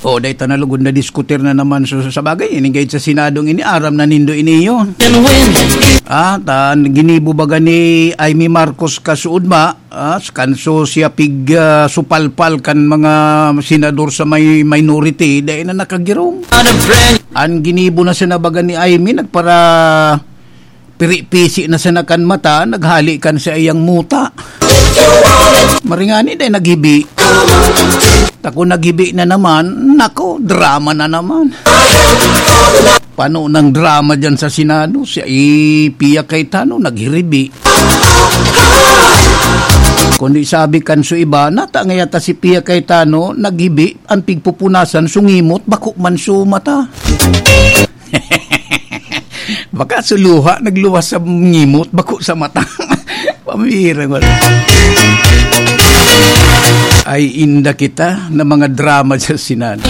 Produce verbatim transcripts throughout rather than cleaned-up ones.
Oh, dai ta na lugod na diskutir na naman. So, sa bagay, ini gayud sa Senadong ini, aram na nindo ini, iyo. Ah, ta, ginibo baga ni Imee Marcos kasuodma, ah, kanso siya pig, ah, supalpal kan mga senador sa may minority, dai na nakagirong. An ginibo na sana baga ni Imee, nagpara piri-pisi na sana kan mata, naghali kan saiyang muta. Maringani dai naghibi. Ta kun naghibi na naman, nako, drama na naman. Pano nang drama diyan sa Senado, si Pia Cayetano naghiribi. Kundi sabi kan su iba, nata ngaya ta si Pia Cayetano naghibi, an pigpupunasan sungimot, bako man su mata. Baka su luha nagluwas sa ngimot, bako sa mata. Pambihira, wala. Ay, inda kita na mga drama sa Senado.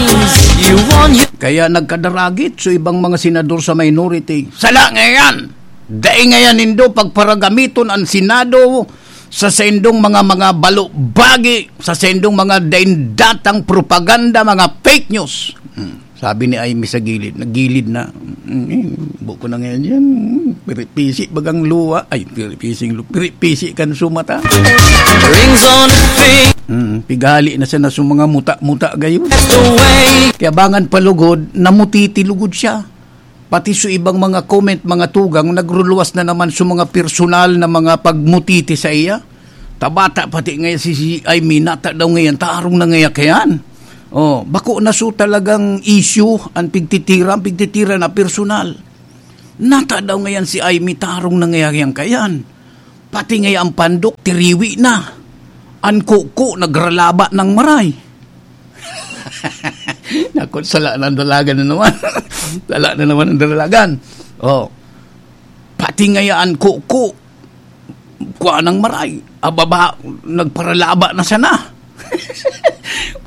Kaya nagkadaragit so ibang mga senador sa minority. Sala ngayan! Dai ngayan nindo pagparagamiton an Senado sa saindong mga, mga balubagi, sa saindong mga daindatang propaganda, mga fake news. Hmm. Sabi ni Imee sa gilid, nagilid na. Hmm, buko na ngayon yan. Hmm, piripisi bagang luwa. Ay, piripising lu-, piripisi kan sumata. Rings on the finger. Hmm, pighali na siya na sa mga muta-muta gayon. That's the way. Kaya bangan palugod, namutiti lugod siya. Pati sa ibang mga comment, mga tugang, nagruluwas na naman sa mga personal na mga pagmutiti sa iya. Tabata pati ngayon si, si Imee, nata daw ngayon, tarong na ngayon kayan. Oh, bako na so talagang issue ang pigtitira, ang pigtitira na personal. Nata daw ngayon si Imee, tarong na ngayon kayan. Pati ngayon ang pandok, tiriwi na. Ang kuko, nagralaba ng maray. Naku, sala ng dalagan na naman. Sala na naman ang dalagan. Oh. Pati ngayon ang kuko, kuha ng maray. Ababa, nagparalaba na sana.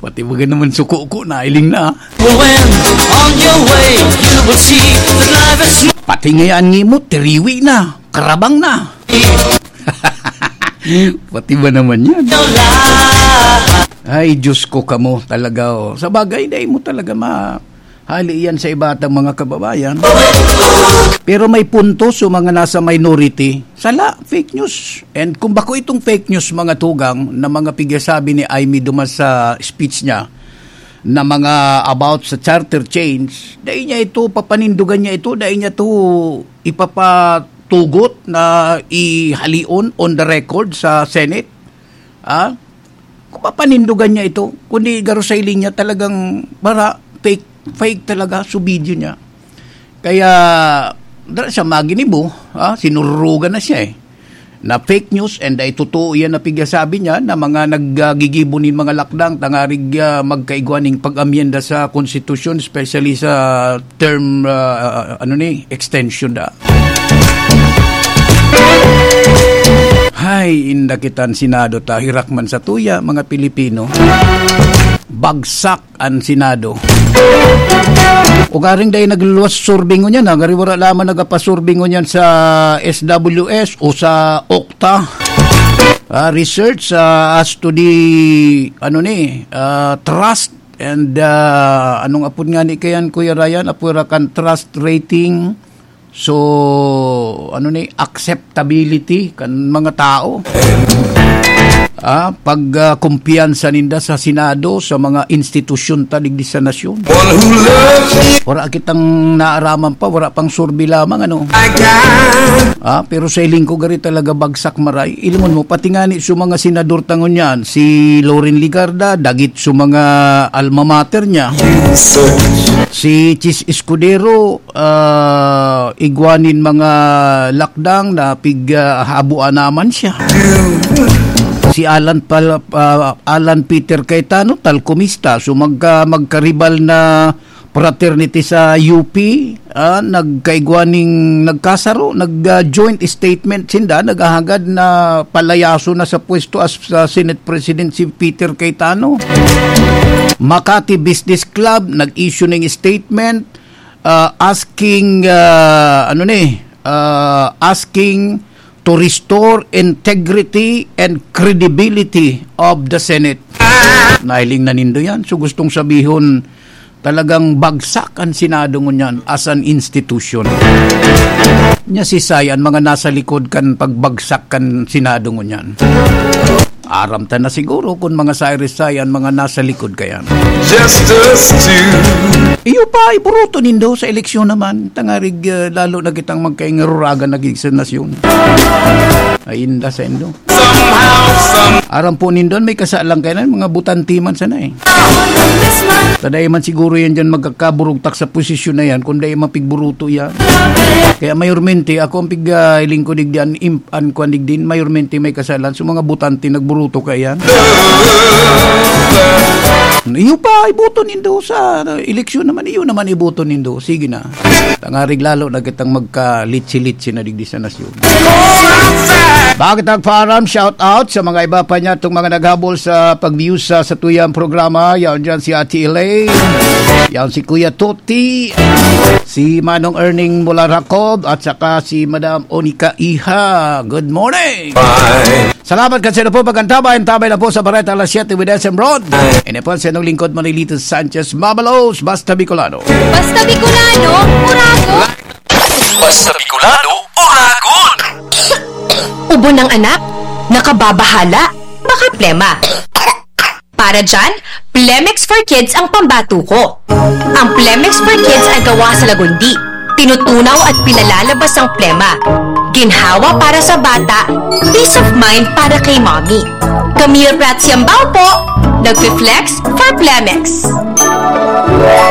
Pati baga naman suko ko, nailing na. When on your way, you will see that life is Pati ngayon ngimot, tiriwi na, karabang na. Pati ba naman yan? Ay, Diyos ko kamo, talaga, oh. Sa bagay, dai mo talaga ma-, hali yan sa iba atang mga kababayan. Pero may punto sa mga nasa minority. Sala, fake news. And kung bako itong fake news, mga tugang, na mga pigyasabi ni Imee duman sa speech niya, na mga about sa charter change, dai niya ito, papanindugan niya ito, dai niya ito ipapatugot na ihalion on the record sa Senate. Ah? Kung papanindugan niya ito, kundi garo sa hiling niya talagang para fake, fake talaga, so video niya. Kaya, dara siya maginibo, ah, sinururugan na siya eh. Na fake news and ay totoo yan na pigyasabi niya na mga naggigibo nin mga lakdang tangarig, ah, magkaigwa ning pag-amyenda sa konstitusyon, especially sa term, ah, ano ni, extension da. Hay, inda kitan Senado ta, hirak man sa tuya, mga Pilipino. Bagsak an Senado. Ugaring dai nagluwas survey ngunyan, ha? Gari wala lamang nagapasurvey ngunyan sa S W S o sa okta. Ah, research, ah, as to the, ano ni, ah, trust and, ah, anong apod nga ni kayan, Kuya Ryan? Apod ra kan trust rating. So, ano ni, acceptability kan mga tao. Ah, pag, ah, kumpiyansa ninda sa Senado, sa mga institusyon ta digdi sa nasyon. One who loves me. Wala kitang naaraman pa, wala pang survey lamang, ano. I got Ah, pero sa hiling ko, gari talaga bagsak maray. Ilingon mo, pati nga ni sa mga senador ta ngunyan, si Loren Legarda, dagit sa mga alma mater niya. You search. Si Chiz Escudero, ah, igwa nin mga lakdang na pig, ah, habuan naman siya. Si Alan Pal-, ah, Alan Peter Cayetano, talkomista. So, magka-, magkaribal na fraternity sa U P, ah, nagkaigwa ning nagkasaro, nag, ah, joint statement sinda, naghahangad na palayaso na sa pwesto as, ah, Senate President si Peter Cayetano. Makati Business Club, nag-issue ning statement, ah, asking, ah, ano ni, ah, asking to restore integrity and credibility of the Senate. Nahiling na nindo yan. So, gustong sabihon, talagang bagsak an Senado ngunyan as an institution. Nya si Sai, an mga nasa likod kan pagbagsak kan Senado ngunyan. Aram ta na siguro kun mga Cyrus Sai an mga nasa likod kayan. Just us two. Iyo pa, iburoto nindo sa eleksyon naman. Tangarig, ah, lalo na kitang magkaingururagan na gid sa nasyon. Ay, inda sa indo. Aram po nindon, may kasalang kayo na, mga butante man sana eh. Taday man siguro yan dyan magkakaburugtak sa posisyon na yan, kung dai mapigburuto yan. Kaya mayormente, ako ang pig, ah, lingkod digdi, an, imp-, an kwan digdi, mayormente may kasalan. So, mga butante nagburuto ka yan. Iyo pa, iboto nindo sa, ah, eleksyon naman, iyo naman iboto nindo. Sige na. Tangarig lalo na kitang magka-litsi-litsi na digdi sa nasyon. Bakit nagpaaram? Shout out sa mga iba pa niya, itong mga naghabol sa pag-view sa, sa tuyang programa. Yan dyan si Ate Elaine. Yan si Kuya Toti. Si Manong Erning mula Racob. At saka si Madam Onika Iha. Good morning. Salamat kasi na po pag-antabay. Antabay na po sa Bareta alas siyete with S M Rod. Ini po si anong lingkod, Manilito Sanchez Mabalos. Basta Bicolano. Basta Bicolano, Uragon. Basta Bicolano, Uragon. Ubo ng anak, nakababahala, baka plema. Para dyan, Plemex for Kids ang pambato ko. Ang Plemex for Kids ay gawa sa lagundi. Tinutunaw at pinalalabas ang plema. Ginhawa para sa bata, peace of mind para kay mommy. Camille Prats Yambao po, nagfi-flex for Plemex.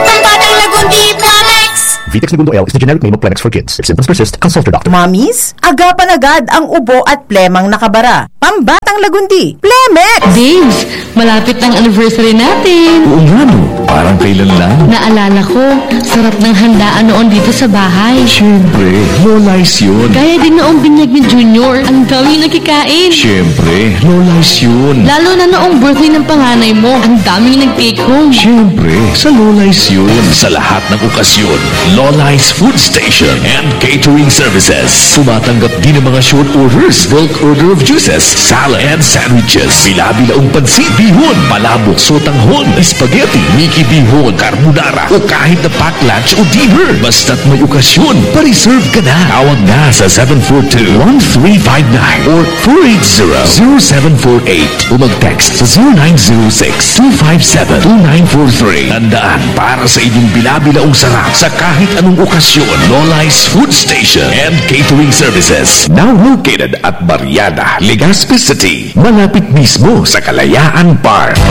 Pambatang lagundi, Plemex! Vitex Negundo L is the generic name of Plemex for Kids. If symptoms persist, consult your doctor. Mommies, agapan agad ang ubo at plemang nakabara. Pambatang lagundi, Plemex! Babes, malapit na ang anniversary natin. Oo nga, no? Parang kailan lang. Naalala ko, sarap ng handaan noon dito sa bahay. Siyempre, Lola's yun. Gaya din noong binyag ni Junior, ang daming nakikain. Siyempre, Lola's yun. Lalo na noong birthday ng panganay mo, ang daming nag-take home. Siyempre, sa Lola's yun. Sa lahat ng okasyon, Lola's Food Station and Catering Services. Tumatanggap din ng mga short orders, bulk order of juices, salad, and sandwiches. Bila-bilaong pansit, bihon, palabok, sotanghon, spaghetti, miki bihon, carbonara, o kahit na pack lunch o dinner. Basta't may okasyon, pa-reserve ka na. Tawag na sa seven four two, one three five nine or four eight zero, zero seven four eight o mag-text sa zero nine zero six, two five seven, two nine four three. Tandaan, para sa inyong bila-bilaong sarap sa kahit anong okasyon, Lola's Food Station and Catering Services. Now located at Barriada, Legazpi City, malapit mismo sa Kalayaan Park.